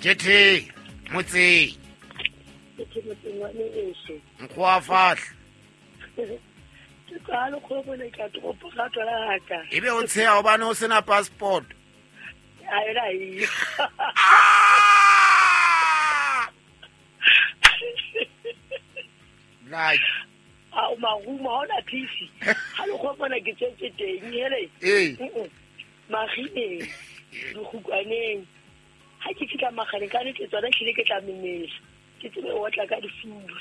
Jethe motseng. Ke motseng wa meso. Nkgoa fahla. Ke qala go bona ka toropo ga tswala ka. Ebe o tsheha hobane o sena passport. A ela e. Like a o maruma hona peace. Ha le go bona ke tsetse teng hele. Eh. Magine. Dikgukwaneng. Ha ke fihla magaleng ka ntle tsona hlile ke tla memela. Ke tsebe o tla ka difuba.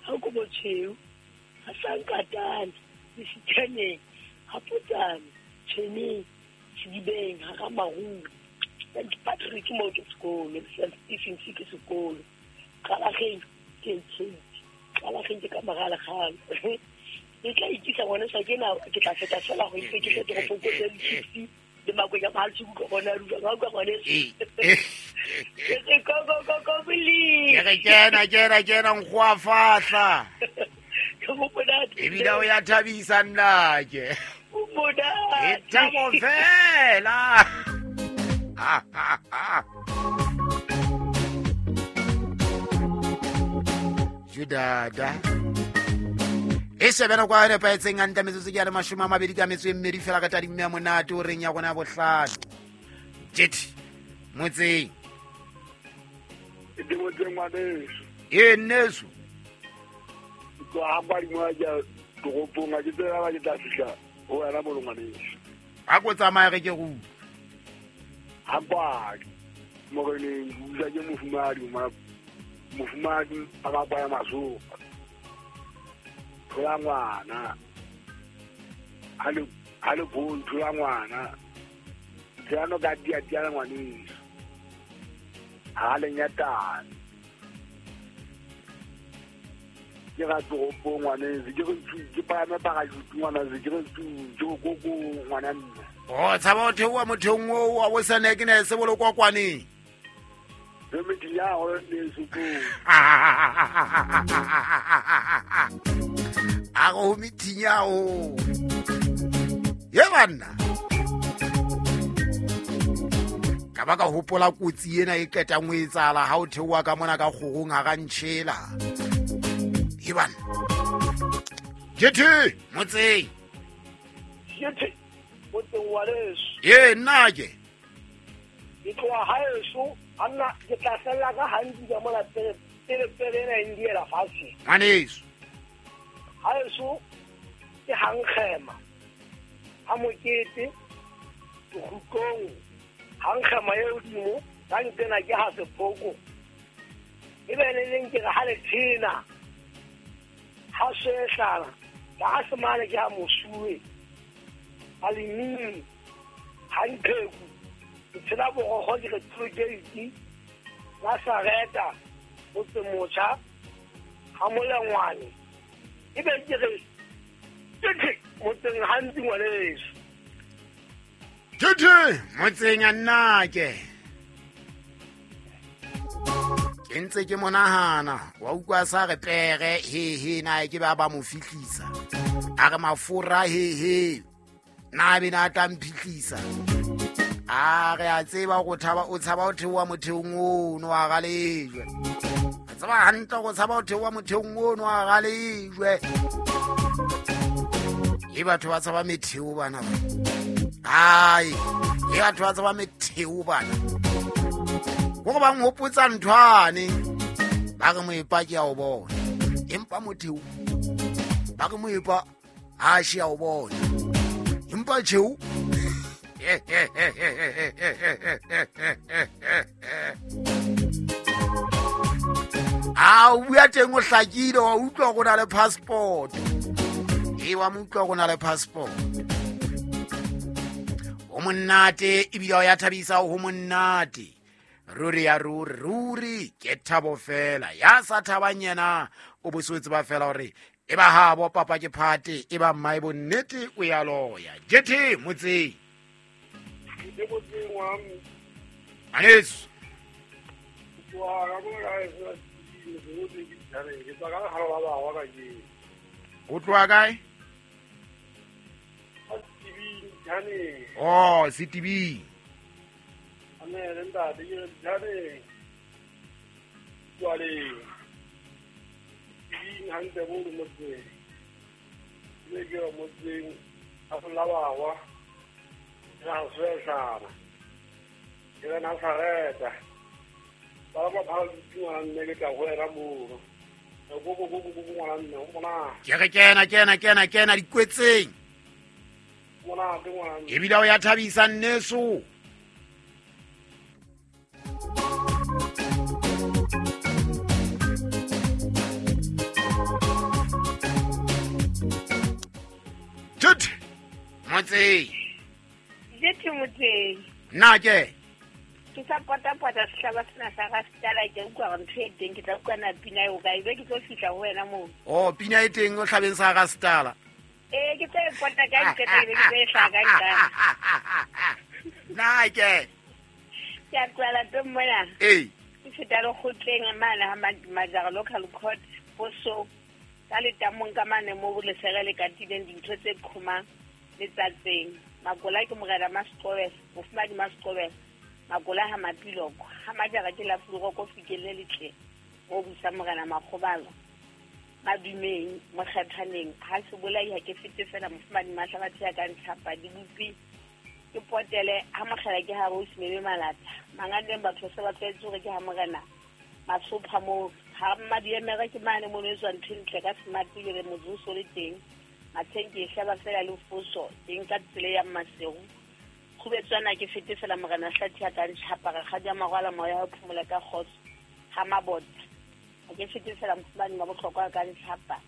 Ha ko botsheu. Ha sankatane, disithaneng, ha potsane, tshweneng, sedibeng, ha ga marung. St. Patrick mo ke sekolo, St. Stephen's ke sekolo. Qalageng ke Kate. Qalageng ke ka mogala galo. Ke tla ikisa ngwana sa ke na ke tla feta fela go itse ke tle toropong ko tse di le makwenya ba le go bona rua ga go gone ke go go go go bili ke kena kena kena nkgoa fahla ke go bona e bile o ya thabisa nna ke o bona e thabo fela Judada e shebena kwa nepahetseng hantle metsotso ke ya le 22 ka metso e mmedi fela ka tadimo ya monate o reng ya rona ya bohlano. Jethe motseng. Ke motseng ngwaneso. Ee nneso. Ke tloha ha ke toropong ha ke tseba ke tla fihla ho wena mo ngwaneso. Ha ko tsamaya re ke go. Ha kwa moreneng ke utlwa ke mofumahadi mofumahadi a ba kwa ya masopa. Thola ngwana ha le bone thola ngwana tseno ka dia dia ngwaneso ha le nyatane ke ga toropong ngwaneso ke re ke palame parajutu ngwaneso ke re ke go ngwana nna o tshaba o theoha motheong oo wa bo sene ke ne se bolokwa kwaneng re metinya o ne se ko a go methinya o ye banna ka ba ka hopola kotsi ena e qetang ho etsahala ha o theoha ka mona ka kgorong ha ga ntšhela ye banna. Jethe motseng. Jethe motseng wa leso. Ee nna ke ke tloha haeso anna ke tla fella ka hantsi ka mona pele pele pele ena e ndiela fatshe ngwaneso. Haeso ke hankgema ha mokete dikgukong hankgema e hodimo ka nkena ke ha sephoko e be le leng ke re ha le thena ha sehlala ka ha semane ke ha mosuwe ha leming ha ntheku ke tshela borogo ke re tollgate la Sareta motse motjha ha molengwane e be ke re thethe motseng hantsi ngwaneso. Thethe motseng a nna ke ke ntse ke monahana wa utlwa sa re pere he he na ke ba ba mo fihlisa a re mafura he he na be na tla mphihlisa a re a tseba go thaba o tshaba o theoha motheong ono a galejwe a tseba hantle go tshaba o theoha motheong ono a galejwe e batho ba tshaba metheo bana ba ai e batho ba tshaba metheo bana go ba nghopotsa nthwane ba re moepa ke a o bona empa motheo ba re moepa ha shi a o bona empa tjheu a o bua teng o hlakile wa utlwa go na le passport e wa mo utlwa go na le passport o monnate ebile o ya thabisa ho monnate ruri ya ruri ruri ke thabo fela ya sa thabang yena o boswetse ba fela hore e ba habo papa ke phate e ba mmae bonnete o ya loya. Jethe motseng. Ke motseng wa Aneso. O tloha kae? Oh, Setibing. Ane ntate ke jane. Jwale. Ke hantle bo motseng. Ke ke motseng a folawa. Ra swesana. Ke na sareta. Ba ba ba ngwana nne ke tla go era mo. Go go go go ngwana nne o bona. Ke re kena kena kena kena dikwetseng. Mona ke ngwana nne. Ebile o ya thabisa nneso. Tut. Motse. Jethi motse. Nna ke. Ke sa pota-pota sehlaba sena sa ga setala ke utlwa gore ntho e teng ke tla utlwa na pina eo kae be ke tlo fihla ho wena moo. Oh, pina e teng o hlabeng sa ga setala. Ee, ke tlo e pota ka nqeta ebe ke tlo e hlaha ka nqane. Nna ke. Ke a tloha lapeng mona. Ee. Ke feta lekgotleng mane ha Majara Local Court poso ka letamong ka mane mo lesere le katileng dintho tse qhomang letsatseng. Makola ke morena Masqobela, mofumadi Masqobela. Makola ha mapiloko ha Majara ke la fuloko fikelle letle mo busa morena Makgobalo madumeng mokgethaneng ha se bolai ha ke fete fela mofumadi Mahlabathe ya ka ntshapa dibupi ke potele ha mokgela ke ha bo simebe malata manganeng batho se ba tlwaetse hore ke ha morena Masopha mo ha madiemere ke mane mo no tswa ntho ntle ka smart le motsoso le teng matsheng ke hlaba fela le foso teng ka tsela ya Masego khubetswana ke fete fela morena Hlathi ya ka ntshapa re kgadi ya magwala moya wa phumola ka kgotso ha mabotsa ha ke fete fela mofumane wa bohlokwa ka ntshapa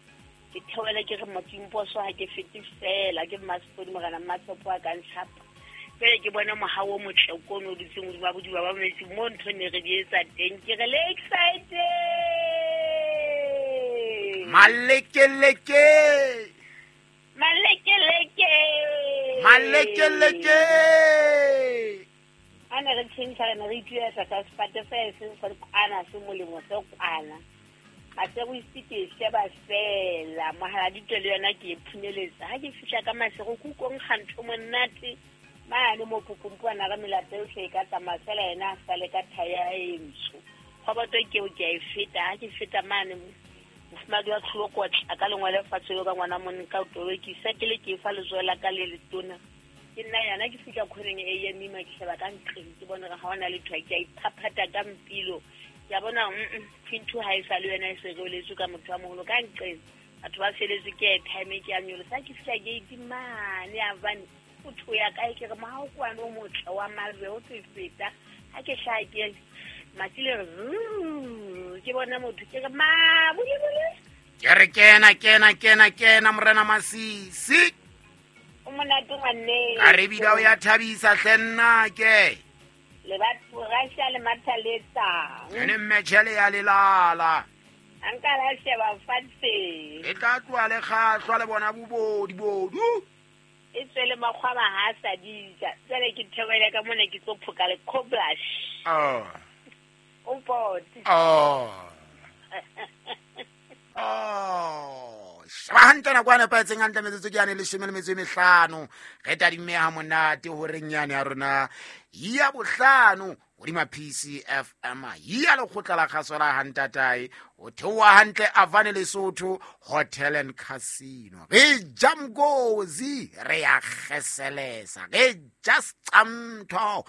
ke theoele ke re motimposo ha ke fete fela ke Mmasepodi morena Mmatshepo a ka ntshapa pele ke bone mohao o motle kono o dutseng hodima bodiba ba metsi mo ntho ne re di etsa teng ke re le excited malekeleke malekeleke malekeleke a ne re tšhentšha re ne re ituetsa ka sefate fela e seng sa kwana se molemo se kwana Masego ise ke e sheba fela mohala ditwe le yona ke e phunyeletsa ha ke fihla ka Masego ke utlwa nkga ntho monate mane mo pokompuana re melato yohle e ka tsamaya fela yena a sale ka thaya e ntsho kgoboto keo ke a e feta ha ke feta mane mofumadi wa tlholokotla ka lengwele fatshe yo ka ngwana monka o tobekisa ke le ke fa letsoho la ka le letona ke nna yana ke fihla khoneng e ya mima ke sheba ka nqeng ke bone gore ha ona letho ke a iphaphatha ka mpilo ke a bona phintu ha e sa le yona e se reoletswe ka motho wa moholo ka nqeng batho ba feletswe ke airtime ke a nyolosa ke fihla gate mane a bane motho ya kae ke re mohao kwane o motle wa malwe o tlo e feta ha ke hlaha ke matsi le re ke bona motho ke re mabulebule ke re kena kena kena kena morena Masisi o monate ngwaneng a re bida o ya thabisa hle nna ke le batho rasha le mathaletsang ene mmetšhele ya lelala a nka la sheba fatshe e tla tloa le kgahlwa le bona bobodi bodu e tswele makgwaba ha a sa dija jwale ke theohele ka mona ke tlo phoka le coblash oh o pote oh oh sheba hantle nako a nepahetseng hantle metsotso ke yane 15 re tadimme ha monate horeng yane ya rona ya bohlano hodima PCFM ya lekgotla la kgaso la hantatae o theoha hantle Avane Lesotho Hotel and Casino re ja mkozi re ya kgeselesa re ja seqamtho.